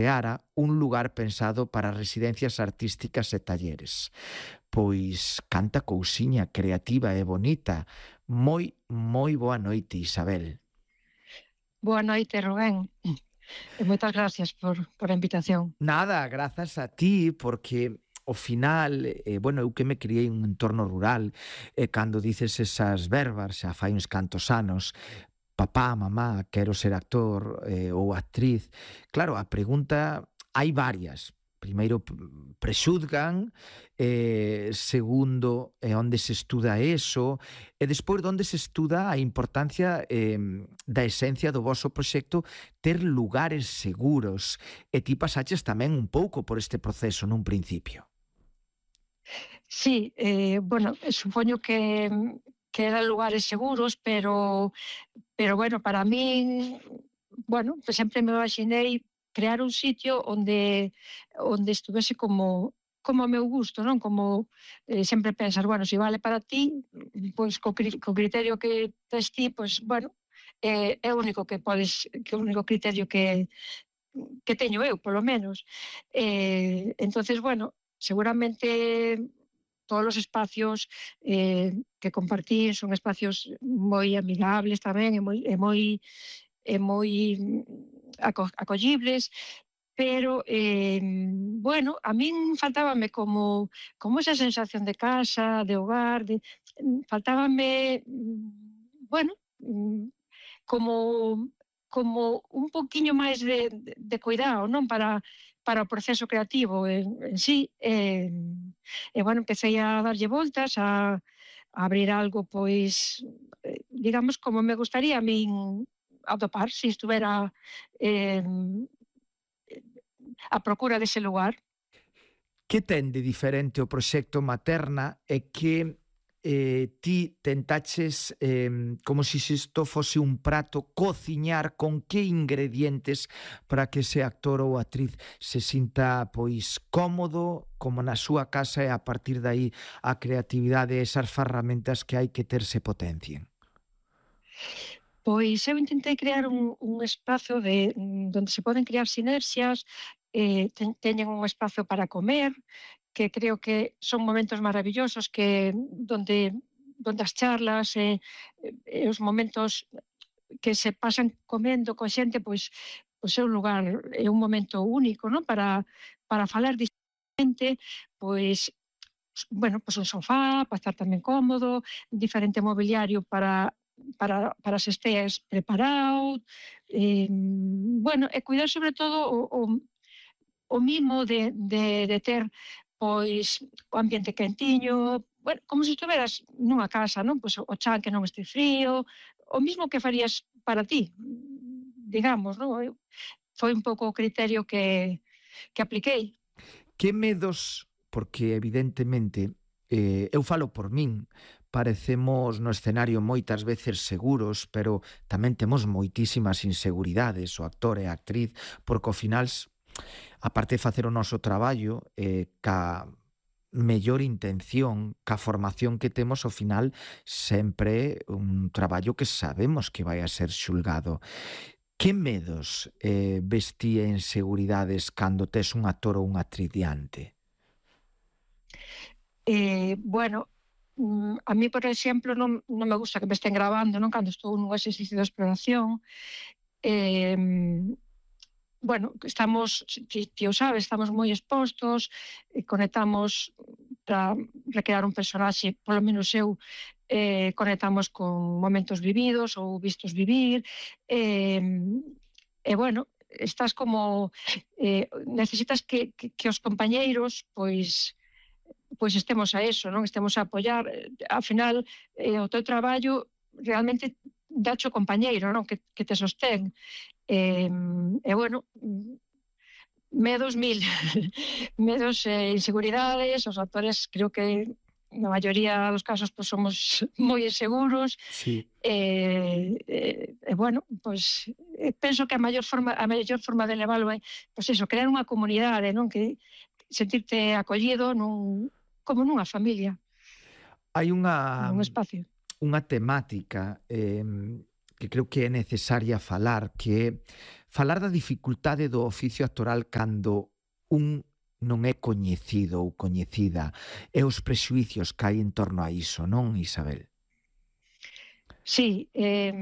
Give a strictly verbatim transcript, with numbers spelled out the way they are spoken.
creara un lugar pensado para residencias artísticas e talleres. Pois canta cousiña creativa e bonita. Moi, moi boa noite, Isabel. Boa noite, Rubén, e moitas gracias por, por a invitación. Nada, grazas a ti, porque ao final, eh, bueno, eu que me criei en un entorno rural, e cando dices esas verbas, xa fai uns cantos anos, papá, mamá, quero ser actor eh, ou actriz, claro, a pregunta, hai varias. Primeiro, p- prexuzgan, eh, segundo, eh, onde se estuda eso, e despois, onde se estuda a importancia eh, da esencia do voso proxecto ter lugares seguros. E ti pasaches tamén un pouco por este proceso nun principio. Sí, eh, bueno, supoño que, que eran lugares seguros, pero, pero bueno, para min, bueno, pues sempre me imaginei crear un sitio onde onde estuvese como como a meu gusto, non? Como eh, sempre pensar, bueno, se si vale para ti, pois co, cri, co criterio que tes ti, pois, bueno, é, é o único que podes, que é o único criterio que, que teño eu, polo menos. Eh, entonces, bueno, seguramente todos os espacios eh, que compartín son espacios moi amigables tamén e moi, e moi, e moi mm, aco, acollibles, pero, eh, bueno, a min faltábame como, como esa sensación de casa, de hogar, de, faltábame, mm, bueno, mm, como como un poquiño máis de, de, de cuidado, non? Para, para o proceso creativo en, en sí. E, e, bueno, empecé a darlle voltas, a, a abrir algo, pois, eh, digamos, como me gustaría a min atopar, se si estuvera eh, a procura dese lugar. Que ten de diferente o proxecto Materna e que eh, ti tentaches, eh, como se si isto fose un prato, cociñar con que ingredientes para que ese actor ou actriz se sinta pois cómodo, como na súa casa, e a partir de aí a creatividade e esas ferramentas que hai que ter se potencien? Pois eu intentei crear un, un espazo de, mm, donde se poden crear sinerxias, eh, ten, teñen un espazo para comer, que creo que son momentos maravillosos que donde donde as charlas e, e os momentos que se pasan comendo coa xente, pois pois é un lugar, é un momento único, non? Para para falar distintamente, pois bueno, pois un sofá para estar tamén cómodo, diferente mobiliario para para para as esteas preparado, eh, bueno, e cuidar sobre todo o o o mimo de de de ter, pois, o ambiente quentiño, bueno, como se estuveras nunha casa, non? Pois o chan que non este frío, o mismo que farías para ti, digamos, non? Eu foi un pouco o criterio que que apliquei. Que medos, porque evidentemente, eh, eu falo por min, parecemos no escenario moitas veces seguros, pero tamén temos moitísimas inseguridades, o actor e a actriz, porque ao final, aparte de facer o noso traballo, eh, ca mellor intención, ca formación que temos, ao final sempre un traballo que sabemos que vai a ser xulgado. Que medos eh, ves ti e inseguridades cando tes un actor ou unha actriz diante? Eh, bueno, mm, a mí, por exemplo, non, non me gusta que me estén grabando, non? Cando estou nun exercicio de exploración. Eh, bueno, estamos, ti, ti o sabes, estamos moi expostos, eh, conectamos para recrear un personaxe, polo menos eu, eh, conectamos con momentos vividos ou vistos vivir, eh, e bueno, estás como, eh, necesitas que, que, que os compañeiros, pois, pois estemos a eso, non? Estemos a apoiar, eh, ao final, eh, o teu traballo realmente dacho o compañeiro, non? Que, que te sostén. E, e bueno, medos mil, medos e inseguridades, os actores creo que na maioría dos casos pois somos moi inseguros, Sí. e, e, e bueno, pois penso que a maior forma a mellor forma de leválo é, pois eso, crear unha comunidade, non? Que sentirte acollido nun, como nunha familia, Hai unha nun espacio. unha temática eh, que creo que é necesaria falar, que é falar da dificultade do oficio actoral cando un non é coñecido ou coñecida, e os prexuicios que hai en torno a iso, non, Isabel? Sí, eh,